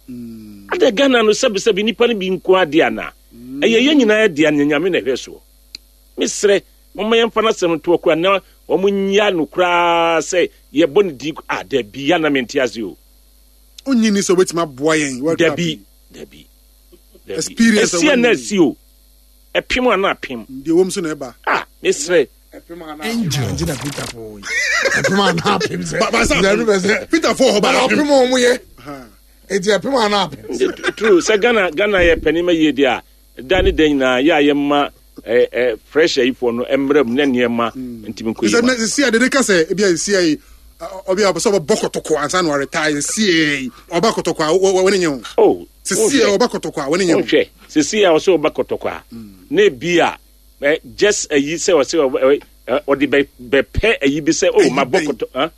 Adɛ Ghana no sɛbesɛbe nnipa no bi nko ara dea anaa? Ɛyɛ yɛn nyinaa dea na Nyame na ɛhwɛ soɔ. Mesrɛ, momma yɛmfa n'asɛm nto hɔ koraa na wɔn nnya no koraa sɛ yɛbɔ ne din ah dabi ya na mente ase o. Onnye nni sɛ obetumi aboa yɛn World Cup Dabi, yi. dabi, dabi. Experience a Ɛsi a na wɔnni. asi o. Ɛpem a na apem. Deɛ ɛwom so na ɛba. Ah, mesrɛ. Angel. Nti na Peter fo yi. Ɛpem a na apem sɛ. Ba ba sɛ Sɛ ɛno bɛ sɛ. Peter fo hɔ ba Ba apem. apem a wɔn yɛ. Eti ɛpem a na apem. True, sɛ Ghana Ghana yɛ panin ma yie deɛ a, da ne da nyinaa yɛ a yɛma ɛ ɛ fresh ayifoɔ no mmerɛ mu ne nneɛma ntumi nkɔ yie ma. Sɛ sisi a dede ka sɛ ebi a sisi a yi ɔbi a ɔpɛ sɛ ɔbɛbɔ kɔtɔkɔ ansa na ɔretae sisi a yi ɔba kɔtɔkɔ a wɔne nye ho. Oh, Sisi a ɔba kɔtɔkɔ a wɔne nye ho. Wohwɛ sisi a ɔsɛ ɔba kɔtɔkɔ a na ebi a ɛ just ayi sɛ ɔsɛ ɔde bɛ bɛpɛ ayi bi sɛ oh mabɔ kɔtɔ ah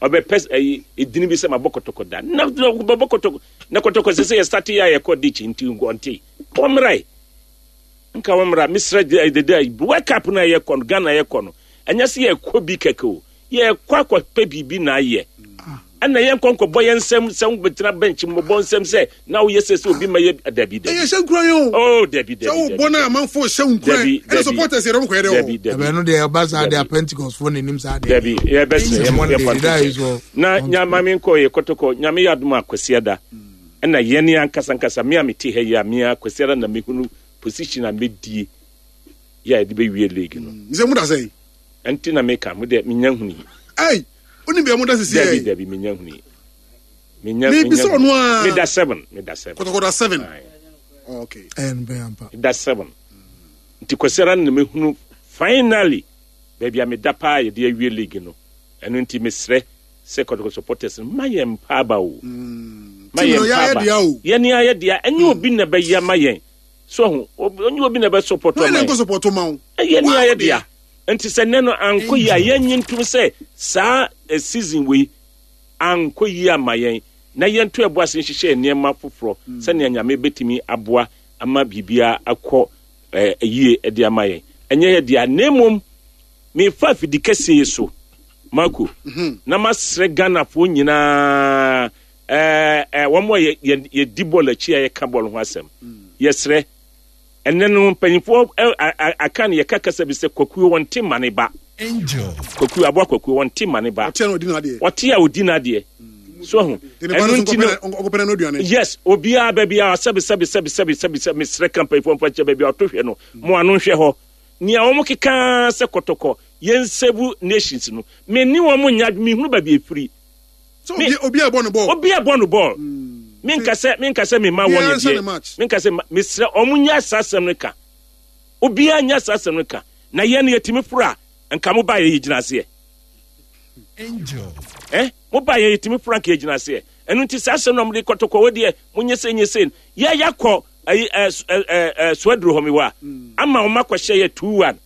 ɔbɛpɛ ayi edini bi sɛ mabɔ kɔtɔkɔ da na bɛbɔ kɔtɔkɔ na kɔtɔkɔ sɛ sɛ yɛ start yɛ a yɛkɔ ditch nti ɔnte ɔmmra yi nka wɔmmra mesrɛ dede World Cup no a yɛkɔ no Ghana yɛkɔ no ɛnyɛ sɛ yɛkɔ bi kɛkɛ o yɛkɔ akɔpɛ biribi na ayɛ ɛna yɛnkɔ nkɔbɔ yɛn nsɛm sɛ wobɛtena bench mmɔbɔ nsɛm sɛ na woyɛ sɛ sɛ obi ma yɛ dabi dabi ɛyɛ hyɛ nkura yɛn o oh dabi dabi sɛ wobɔ no amanfoɔ hyɛ wo nkura ɛna supporters yɛrɛ mokɔyɛ dɛ dabi dabi ɛbɛn no deɛ ɔba saa deɛ Pentecost foɔ n'anim saa deɛ dabi yɛbɛsrɛ yɛmfa na nyama me nkɔ yɛ kɔtɔkɔ nyame yɛ adom a kwasiada ɛna yɛn ankasa ankasa me a mete ha yi a me a kwasiada na mehunu position a mɛdie yɛ a yɛde bɛwie league no sɛ mu da sɛn ɛnti na meka mo deɛ menya huni ei wonim bia moda sisi dabi dabi menya huni menya mebisa ɔno a meda seven meda seven kɔtɔkɔda seven okay ɛn bɛn ampa meda seven nti kwasiara na mehunu finally baabi a meda paa yɛde awie league no ɛno nti mesrɛ sɛ kɔtɔkɔ supporters no ma yɛn mpaaba o mm. ma yɛn mpaaba yɛne ayɛ dea ɛnyɛ mm. obi na bɛyɛ ma yɛn so ho ɔnyɛ obi na bɛ support ma yɛn ɛyɛ ne ayɛ dea nti sɛ nnɛ no ankɔ yie a yɛnye ntom sɛ saa eh, season wei ankɔ yie ama yɛn na yɛnto ɛbo ase nhyehyɛ nneɛma foforɔ mm. sɛnea nyame bɛtumi aboa ama biribiara akɔ eh, yie de ama yɛn ɛnyɛ yɛ dea na mmom Mefa afidi kɛseɛ yi so, Marco, na masrɛ Ghanafoɔ nyinaa, ɛɛ ɛɛ wɔn a yɛ yɛ yɛdi bɔɔl akyi a yɛka bɔɔl ho asɛm. Yɛsrɛ, ɛnɛ no mpanyinfoɔ ɛ a aka no yɛka kasa bi sɛ kwakuo wɔnte mma ne ba. Angel. Kwakuo aboa kwakuo wɔnte mma ne ba. Ɔte a na ɔdi n'adeɛ. Ɔte a ɔdi n'adeɛ. So ho. Ɛno nti no. Yes, obiara baabi a sɛbi sɛbi sɛbi sɛbi sɛbi sɛbi mesrɛ ka mpanyinfoɔ mfa nkyɛ baabi a ɔto hwɛ no mo ano nhwɛ hɔ. Nea wɔn keka ara sɛ kɔtɔkɔ yɛn save nations no me ne wɔn nyɛ adwene me hunu baabi efiri. So obi obi ɛbɔ no bɔɔl. Obi ɛbɔ no bɔɔl. Me nka sɛ me nka sɛ me ma wɔn deɛ me nka sɛ me srɛ wɔn nyɛ saa asɛm no ka obiara nyɛ saa asɛm no ka na yɛn no yɛtumi foro a nka mo ba yɛ yɛ gyina aseɛ. Angel. Eh mo ba yɛ yɛtumi foro anka yɛ gyina aseɛ ɛno nti saa asɛm na wɔn de kɔtɔkɔ wɔ deɛ mo nyɛ sɛ nyɛ sɛ yɛ yɛakɔ ayi ɛ ɛ ɛ soaduro hɔ mi wa ama wɔn akɔhyɛ yɛ 2-1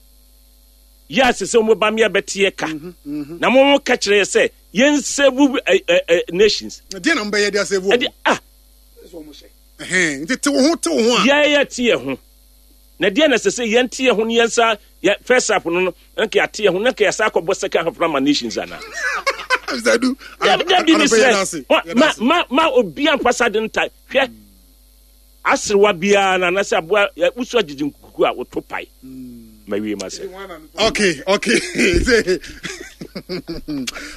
yɛ ase sɛ wɔn ba mi abɛte yɛ ka mhm, mhm. na wɔn ka kyerɛ yɛ sɛ yɛn save ɛ ɛ ɛ nations. ɛdeɛ na mo bɛyɛ de asave wɔn. ɛde ah. nti te wo ho te wo ho a. yɛ yɛ te yɛ ho na deɛ na ɛsɛ sɛ yɛn te yɛ ho ne yɛn nsa yɛ first half no no nka yɛate yɛ ho na nka yɛsa akɔbɔ second half no ama nations ana. dabi mi sɛ ma ma ma obi anfasa de nta hwɛ. Aserewa biara no anaasɛ aboa wusu agyegye nkuku a woto pae. Ma wie ma sɛ. Okay, okay.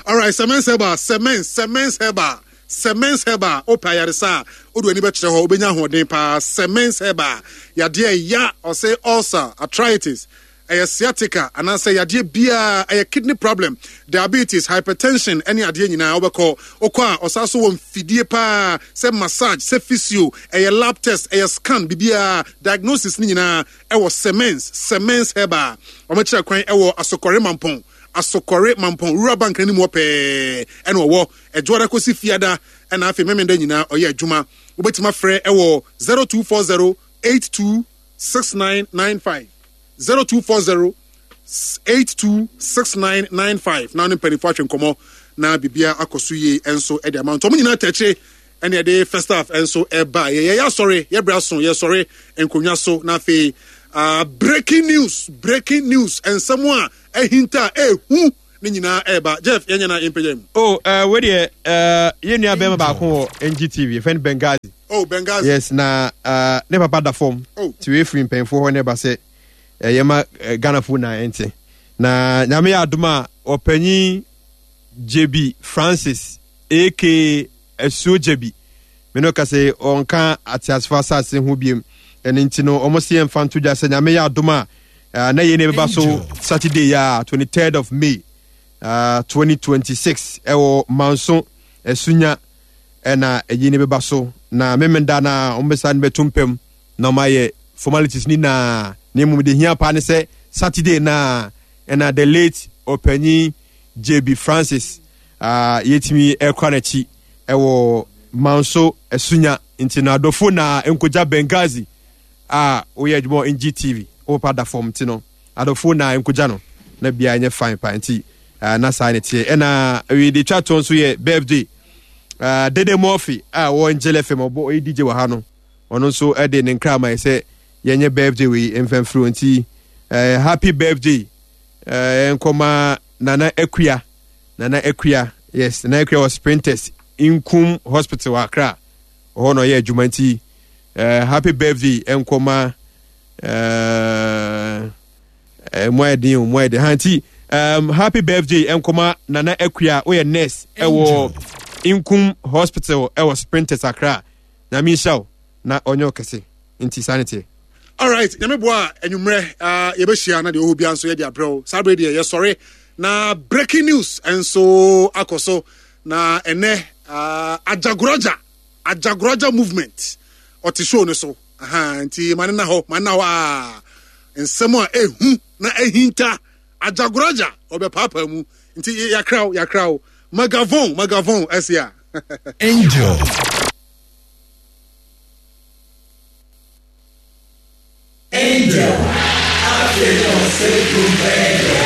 All right, Semens Herbal, Semens, Semens Herbal, Semens Herbal. Opa ayaresa a, wode w'ani bɛkyerɛ hɔ, wobɛnya ahoɔden paa. Semens Herbal, yadeɛ ya, ɔsɛ ulcer, arthritis, ɛyɛ sciatica anaasɛ yadeɛ biara, ɛyɛ kidney problem, diabetes, hypertension ɛne adeɛ nyinaa wobɛkɔ. Wokɔ a ɔsan so wɔ mfidie paa sɛ massage, sɛ physio, ɛyɛ lab test, ɛyɛ scan, biribiara, diagnosis ne nyinaa ɛwɔ Semens, Semens Herbal. Wɔkyerɛ kwan ɛwɔ Asokɔre Mampɔn, Asokɔre Mampɔn, Rural Bank n'anim hɔ pɛɛ ɛna ɔwɔ. Ɛdwoada kɔsi Fiada ɛna afei Memenda nyinaa ɔyɛ adwuma. Wobɛtumi afrɛ ɛwɔ 0240 82 6995. 0240 826995 na ne mpanimfoɔ atwe nkɔmmɔ na biribiara akɔ so yie nso de ama nti wɔn nyinaa tɛkyere ɛne ɛde first half nso ɛba yɛ yɛyɛ asɔre yɛbrɛ aso yɛsɔre nkonnwa so na afei uh, breaking news breaking news nsɛm a ɛhinta a ɛhu ne nyinaa ɛba jeff yɛnyɛ na yɛmpɛgya mu. o oh, uh, wei deɛ uh, yɛn nua bɛrima baako wɔ ngtv yɛfrɛ no bengazi. Oh, Benghazi. Yes, na uh, ne papa da fam. Oh. Ti wei firi mpanyinfoɔ hɔ ne ba sɛ ɛyɛ ma eh, Ghanafoɔ na ɛnte. Na nyame yɛ adom a ɔpanyin Jebi Francis aka Asuo Gyabi me no ka sɛ ɔnka ateasefo asase ho biem. Ɛno nti no wɔn se yɛmfa nto dwa sɛ nyame yɛ adom a eh, na yei na ɛbɛba so Saturday a 23rd of May uh, 2026 ɛwɔ Manso Asunya ɛna ɛyi ne bɛba so na memenda na wɔn bɛsa no bɛto mpam na wɔn ayɛ formalities ni na na mmom de hia paa ne sɛ Saturday na ɛna the late ɔpanyin JB Francis uh, yɛtumi ɛkora n'akyi ɛwɔ Manso Asunya nti na adɔfo na nkogya Benghazi a woyɛ adwuma wɔ NGTV wo papa da fam nti no adɔfo na nkogya no na biara nyɛ fine pa nti uh, na saa ne teɛ ɛna awie de twa toɔ nso yɛ birthday uh, Dede Murphy a wɔ Angel FM ɔbɔ ɔyɛ DJ wɔ ha no ɔno nso ɛde ne nkra ma yɛ sɛ yɛnyɛ birthday wei mfɛmfiri nti uh, happy birthday uh, nkɔma Nana Akua Nana Akua yes Nana Akua wɔ Sprinters Nkum Hospital wɔ Accra ɔhɔ na ɔyɛ adwuma nti uh, happy birthday nkɔma uh, uh, mu ayɛ den o mu ayɛ den ha nti um, happy birthday nkɔma Nana Akua woyɛ nurse ɛwɔ Nkum Hospital ɛwɔ Sprinters Accra Nyame nhyira wo na ɔnyɛ ɔkɛse nti saa ne teɛ. Alright, nyame boa a anwummerɛ uh, yɛbɛhyia na deɛ ɔhɔ bia nso yɛde abrɛ wo. Saa berɛ deɛ yɛsɔre na breaking news nso akɔ so na ɛnɛ uh, Ajagoraja Ajagoraja movement ɔte show no so. Aha, nti ma ne na hɔ, ma ne na hɔ a nsɛm a ehu na ehinta Ajagoraja ɔbɛpaapaa mu. Nti yɛakra wo, yɛakra wo. Magavon, Magavon ɛse a. Angel. Angel. Afei na ɔsɛ dwom Angel.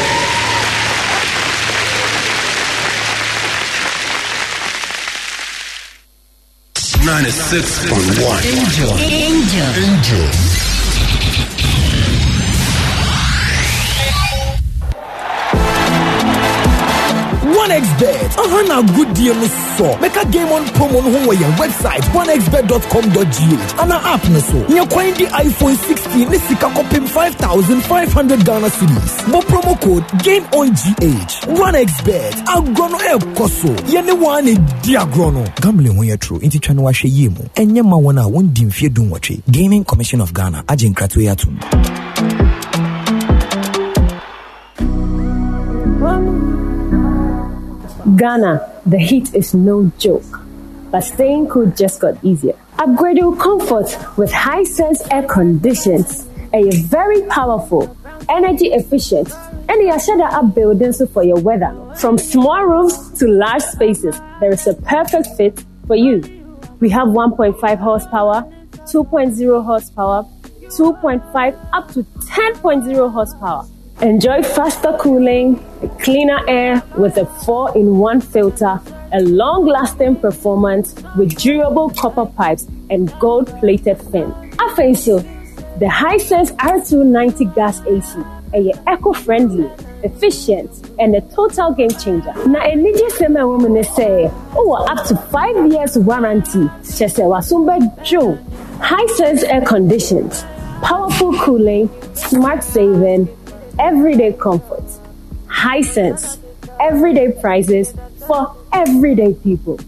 96.1 Angel. Angel. Angel. 1xBet aha na agodie no sɔ mɛka game on promo no ho wɔ yɛn website 1xbet.com.gh ana app no so nyɛ kwan di iPhone 16 ne sika kɔpem 5500 Ghana cedis bɔ promo code game on GH 1xBet agorɔ no ɛrekɔ so yɛne wɔn a na ɛdi agorɔ no gambling ho yɛ toro nti twa no wahwɛ yie mu ɛnyɛ ma wɔn a wɔndi mfeɛ 18 Gaming Commission of Ghana agye nkratoɔ yi atom. Ghana, the heat is no joke. But staying cool just got easier. Upgrade your comfort with Hisense air conditions. A very powerful, energy efficient, and a up buildings for your weather. From small rooms to large spaces, there is a perfect fit for you. We have 1.5 horsepower, 2.0 horsepower, 2.5 up to 10.0 horsepower. Enjoy faster cooling, cleaner air with a 4 in 1 filter, a long lasting performance with durable copper pipes and gold plated fin. Afenso, the Hisense R290 gas AC, a eco friendly, efficient, and a total game changer. Na anigye sɛm a ɛwɔ mu ne sɛ, wowɔ up to 5 years warranty, kyerɛ sɛ w'asom bɛdwo. Hisense air conditions, powerful cooling, smart saving, everyday comfort. Hisense, everyday prices for everyday people.